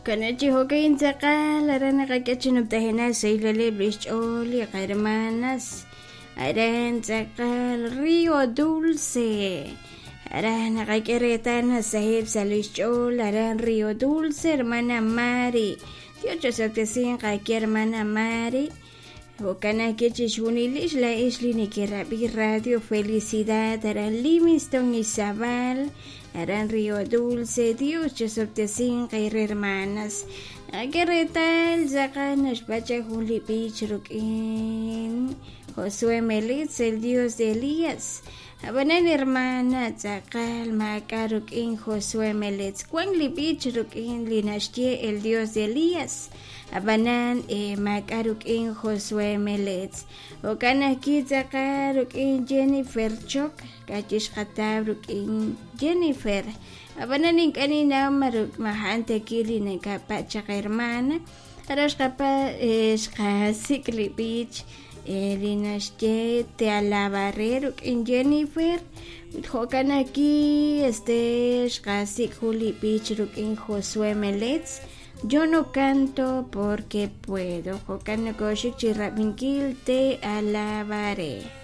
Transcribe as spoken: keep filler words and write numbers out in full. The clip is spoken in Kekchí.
Kanachi jo'kan tz'aqal aran naqak'e chi numtajenaq sahileb' lix ch'ool li qahermanas aran tz'aqal Río Dulce aran naqak'e reetal nasaheb' sa' lix ch'ool aran Río Dulce hermana Mari. Dios chosob'tesinq aki hermana Mari. Jo'kan ajwi' chixjunilix laa'ex li nekerab'i Radio Felicidad aran Livingston, Izabal, aran Río Dulce. Dios chosob'tesinq eere hermanas. Naqak'e reetal tz'aqal naxpacha jun li b'ich ruk'in Josué Melitz, el Dios de Elías. Ab'anan hermana tz'aqal maak'a' ruk'in Josué Melitz, wan li b'ich ruk'in li naxye el Dios de Elías, ab'anan maak'a' ruk'in Josué Melitz. Jo'kan ajwi' tz'aqal ruk'in Jennifer Choc ka'chi xqataw ruk'in Jennifer, ab'anan ink'a' ninnaw ma ma a'an ta ki li nakapach chaq hermana. Aran xqapa xqasik' li b'ich li naxye Te alabaré ruk'in Jennifer ut jo'kan ajwi' este xqasik' jun li b'ich ruk'in Josué Melitz, Yo no canto porque puedo. Jo'kan nokoxik chi rab'inkil Te alabaré.